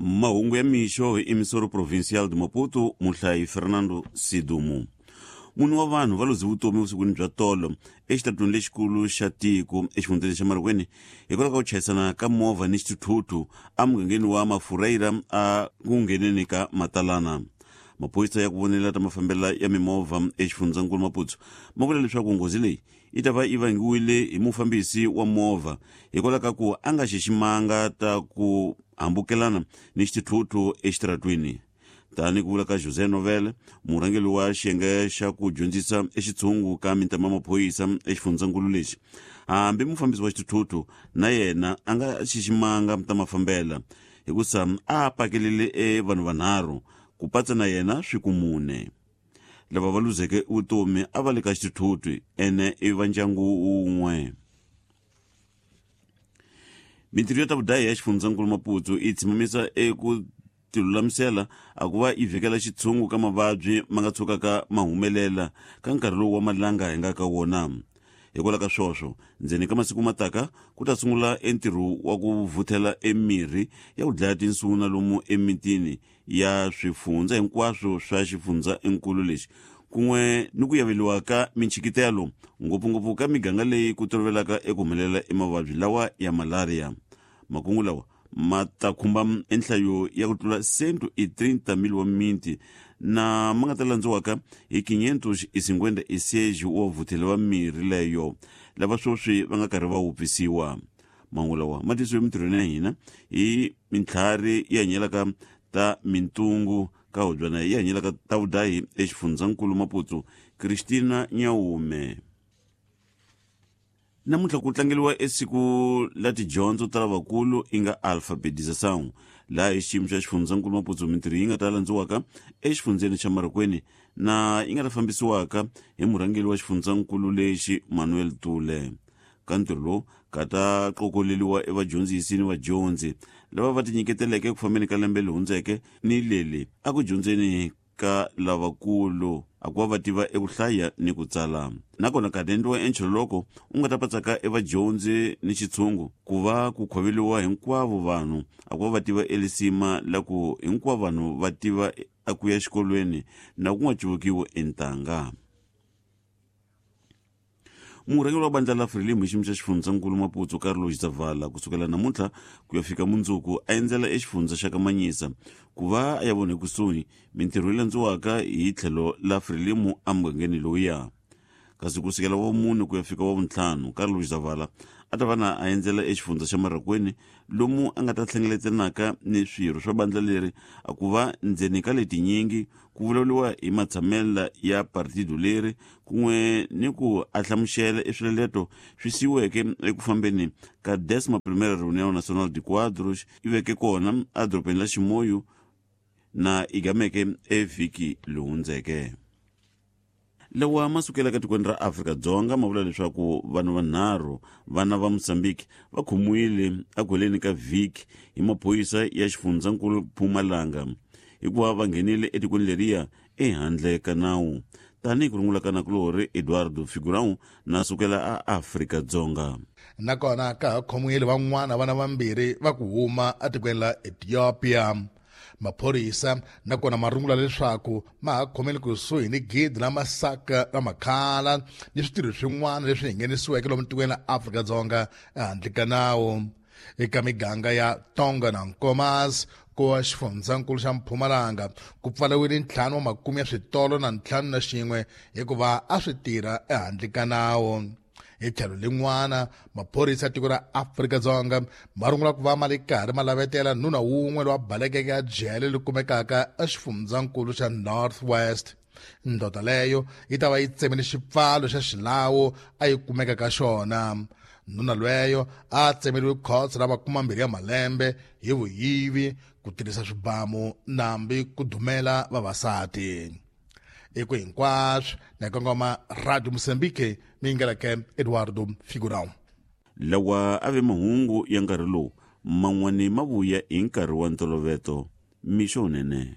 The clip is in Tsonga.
Mahungu ya mixo hi Emissoro Provincial de Maputo, muhlayi Fernando Sidumo. Mune wa vanhu va luze vutomi vusikwini bya tolo exitarateni lexikulu xa tiko exifundzeni xa Marikweni hikwalaho ka ku chayisana ka movha ni xithuthuthu emugangeni wa Mafureira a ku ngheneni ka Matalana. Maphorisa ya ku vonela ta mafambela ya mimovha exifundzankulu Maputo ma vula leswaku nghozi leyi yi ta va yi vangiwile hi mufambisi wa movha hikwalaho ka ku a nga xiximanga ta ku hambukelana ni xithuthuthu exitaratwini. Tani ku vula ka José Novela, murhangeri wa xiyenge xa ku dyondzisa exitshungu ka mintama ya maphorisa exifundzankulu lexi, hambi mufambisi wa xithuthuthu na yena a nga xiximanga ta mafambela hikusa a pakelele e vanhu vanharhu ku patsa na yena swi ku mune. Lava va luzeke vutomi a va le ka xithuthuthu ene i va ndyangu wun'we. Mintirho ya ta vudahi ya xifundzankulu Maputo yi tshimamisa eku tilulamisela a ku va yi vhikela xitshungu ka mavabyi ma nga tshukaka ma humelela ka nkarhi lowu wa malanga hi nga ka wona. Hikwalaho ka swoswo, ndzeni ka masiku mataka ku ta sungula entirho wa ku vuthela emirhi ya ku dlaya tinsuna lomu emitini ya swifundza hinkwaswo swa xifundzankulu lexi kun'we ni ku yaveliwa ka minchikitelo ngopfungopfu ka miganga leyi ku tolovelaka eku humelela emavabyi lawa ya malaria. Makungu lawa ma ta khumba enhlayo ya ku tlula 130.000 wa miti na ma nga ta landziwaka hi 556 wa vutheli va mirhi leyo lava sweswi va nga karhi va wupfisiwa. Mahungu lawa ma tisiwe emintirhweni ya hina hi mintlhari yi hanyelaka ta mintungu ka hubyana yi hanyelaka ta vudahi exifundzankulu Maputo, Christina Nyaume. Namuntlha ku tlangeliwa esiku la tidyondzo ta lavakulu i nga alfabetização laha hi xiyimo xa xifundzankulu Maputo mintirho yi nga ta landziwaka exifundzeni xa Marikweni na yi nga ta fambisiwaka hi murhangeri wa xifundzankulu lexi Manuel Tule. Ka ntirho lowu ka ta qokoleliwa evadyondzisi ni vadyondzi lava va tinyiketeleke eku fambeni ka lembe leri hundzeke ni leli a ku dyondzeni ka lavakulu a ku va va tiva eku hlaya ni ku tsala. Nakona ka ta endliwa enchololoko u nga ta patsaka evadyondzi ni xitshungu ku va ku khoveliwa hinkwavo vanhu a ku va va tiva elisima la ku hinkwavo vanhu va tiva a ku ya xikolweni na ku nga cuvukiwi entanga. Murhangeri wa bandla la Frelimo hi xiyimo xa xifundzankulu Maputo Carlos Zavala kusukela namuntlha ku ya fika mundzuku a endzela exifundza xa Kamanyisa ku va a ya vona ekusuhi mintirho yi landziwaka hi tlhelo la Frelimo emugangeni lowuya. Kasi kusukela wa vumune ku ya fika wa vuntlhanu Carlos Zavala a ta va na a endzela exifundza xa Marraquene lomu a nga ta hlengeletanaka ni swirho swa bandla leri a ku va ndzeni ka letinyingi ku vulavuriwa hi matshamela ya partido leri kun'we ni ku a hlamusela eswileleto swi siyiweke eku fambeni ka Décima Primeira Reunião Nacional de Quadros yi veke kona edorobeni la Chimoio na yi gameke evhiki lowu hundzeke. Lawa ma sukelaka etikweni ra Afrika-Dzonga ma vula leswaku vanhu vanharhu vana va Mozambique va khomiwile eku heleni ka vhiki hi maphorisa ya xifundzankulu Mpumalanga hikuva va nghenile etikweni leriya ehandle ka nawu. Tanihi ku rungula ka nakulorhi Eduardo Figurão na sukela a Afrika-Dzonga. Nakona ka ha khomiwile van'wana vana vambirhi va ku huma etikweni la Ethiopia. Maphorisa nakona ma rungula leswaku ma ha khomele kusuhi ni gidi la masaka la makhala ni switirho swin'wana leswi nghenisiweke lomu tikweni la Afrika-Dzonga ehandle ka nawu. Eka miganga ya Tonga na Nkomas ku wa xifundzankulu xa Mpumalanga ku pfariwile ntlhanu wa makume ya switolo na ntlhanu na xin'we hikuva a swi tirha ehandle ka nawu. Hi tlhelo lin'wana, maphorisa ya tiko ra Afrika-Dzonga ma rungula ku va ma le karhi ma lavetela nuna wun'we lowa balekeke a jele leri kumekaka exifundzankulu xa North West. Ndoda leyo yi ta va yi tsemile xipfalo xa xilawu a yi kumeka ka xona. Nuna lweyo a tsemeriwe khotso ra makumambirhi ya malembe hi vuyivi, ku tirhisa swibamu nambi ku dumela vavasati. Eku hinkwaswo na kongoma Radio Mozambique mi yingeleke Eduardo Figurão. Lawa a ve mahungu ya nkarhi lowu man'wani ma vuya hi nkarhi wa ntoloveto. Mixo wunene.